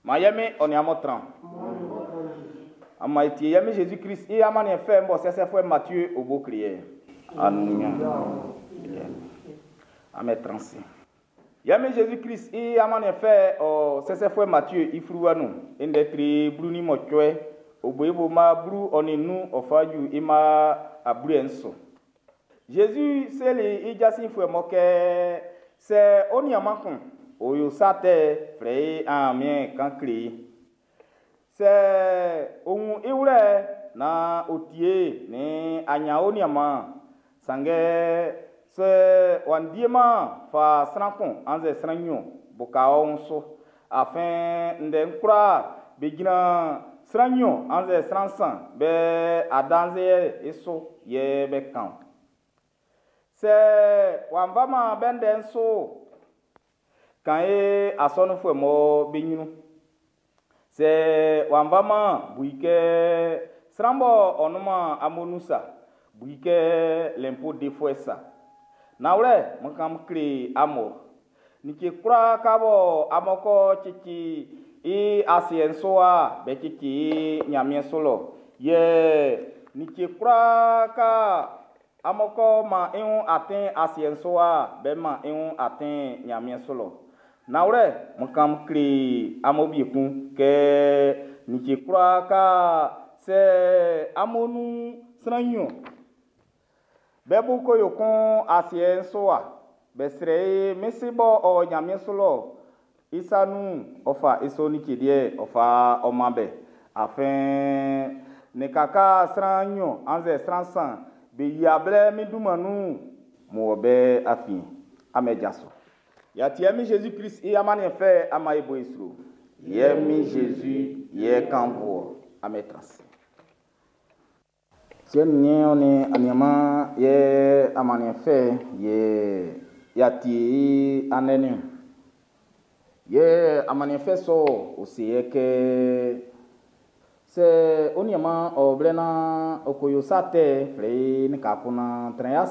Ma ye Min ɔ nin amun tran. An man e tie ye Min Jésus-Christ i amanniɛn fɛ'n bɔ sɛsɛfuɛ Matthieu o bo kle ye. Anunya. Amen tran se. Ye Min Jésus-Christ i amanniɛn fɛ ɔ sɛsɛfuɛ Matthieu i fluwa nun. I ndɛ tre 18, o bo i bo ma 15 ɔ fa ju i ma 70. Jésus seli i jasinfuɛ mɔ kɛ sɛ ɔ nianman kun, ɔ yo sa tɛ flɛ i aamiɛn kan kle i. Sɛ ɔ wun i wlɛ naan ɔ tie nin anya ɔ nianman, sanngɛ sɛ w'a ndieman fa sran kun annzɛ sran nnyɔn buka ɔ wun su. Afin ndɛ'n kwlaa be jran sran nnyɔn annzɛ sran nsan be adanse'n i su yɛ be kan. Sɛ w'a faman be ndɛ'n su, kan e asɔnunfuɛ mɔ be ɲrun. Sɛ w'a faman bu i kɛ sran bɔ ɔ nunman amun nun sa, bu i kɛ lɛnpo defuɛ sa. Nanwlɛ, n kan kle amun, like kwlaa ka bɔ amun kɔ cici i asiɛ'n su wa, be cici i Ɲanmiɛn su lɔ. Yɛ like kwlaa ka amun kɔ man i wun atin asiɛ'n su wa, be man i wun atin Ɲanmiɛn su lɔ. Nanwlɛ, n kan kle amun ekun kɛ like kwlaa ka sɛ amun nun sran nnyɔn be bo ko yo kun asiɛ'n su wa, be srɛ i min Si b'ɔ o Nyanmiɛn su lɔ i sa nun'n, ɔ fa i sɔ like liɛ'n ɔ fa ɔ man be. Afin lika ka sran nnyɔn annzɛ sran nsan be yia blɛ min dunman nun'n, n wɔ be afiɛn. Amen jaso. Y'a tie min Jésus-Christ i amanniɛn fɛ ama e bo i sro. Yɛ min Jésus yɛ kan bo. Amen trans. Siɛ nin niɛn ɔ nin aniaman yɛ amanniɛn fɛ yɛ y'a tie i andɛ niɔn. Yɛ amanniɛn fɛ sɔ o se yɛ kɛ sɛ ɔ nianman ɔ blɛ naan ɔ ko yo sa tɛ flɛ i nin ka kun naan trɛn